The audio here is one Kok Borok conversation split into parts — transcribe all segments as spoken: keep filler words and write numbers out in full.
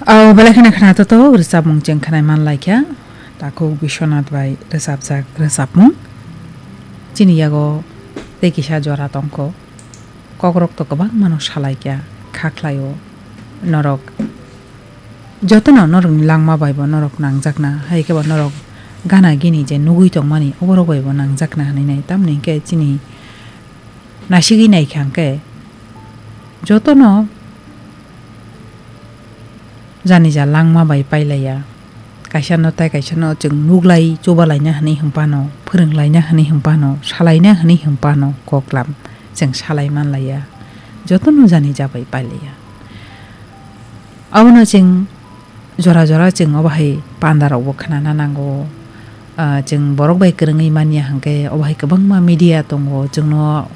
Au belai kheno khna to to rwchapmung chwng khnai man lai kha. Takhuk Biswanath bai rwchapjak rwchapmung. Chini yago tei kisa jora tongkho. Kokrok to kwbangma no salai kha, kha khlaio. Norok jotono norokni langma bai bo norok nangjakna, hai khe bo norok gana gini je nugui tongmani oborok bai bo nangjakna hinwi nai. Tamni hwnkhe chini nasigwi nai kha hwnkhe jotono jani ja langma bai pailaiya. Kaisa no tai kaisa no chwng nuglai, chubalaina hinwi hwnphano, phwrwnglaina hinwi hwnphano, salaina hinwi hwnphano koklam chwng salai manlaiya. Jotono jani ja bai pailaiya. Abono chwng jora jora chwng obo hai panda rokbo khnana nango. Ah, chwng borok bai kwrwngwi manya hwnkhe obo hai kwbangma media tongo, chwngno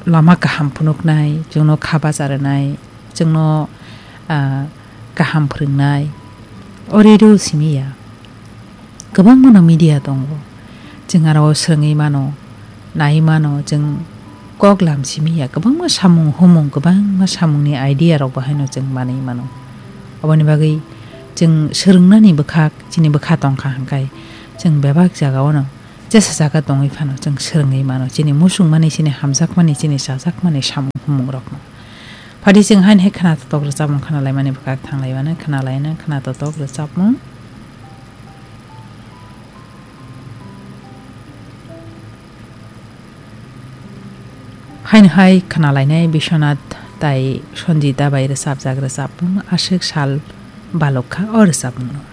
lama kaham phunuknai, chwngno kha bacha rwnai, chwngno, ah, kaham phwrwngnai. O radio simi ya. Kwbangma no media tongo. Chwng aro swrwngwi mano, nai mano, chwng kok lam simi ya. Kwbangma samung humung, kwbangma samungni idea rok bo haino chwng manwi mano. Oboni bagwi chwng swrwngnani bwkhak, chini bwkha tongkha hwnkhe chwng bebak jagao no jesa jaga tongwi phano chwng swrwngwi mano. Chini muchungmani, chini hamjakmani, chini chajakmani samung humung rokno. Phadi chwng haino hai khna totok rwchapmung khna laimani bwkhak thang laimani, khna laina khna totok rwchapmung. Haino hai khna lainai Biswanath tai Sanjita bai rwchapjak rwchapmung aswk sal balok kha o rwchapmungno.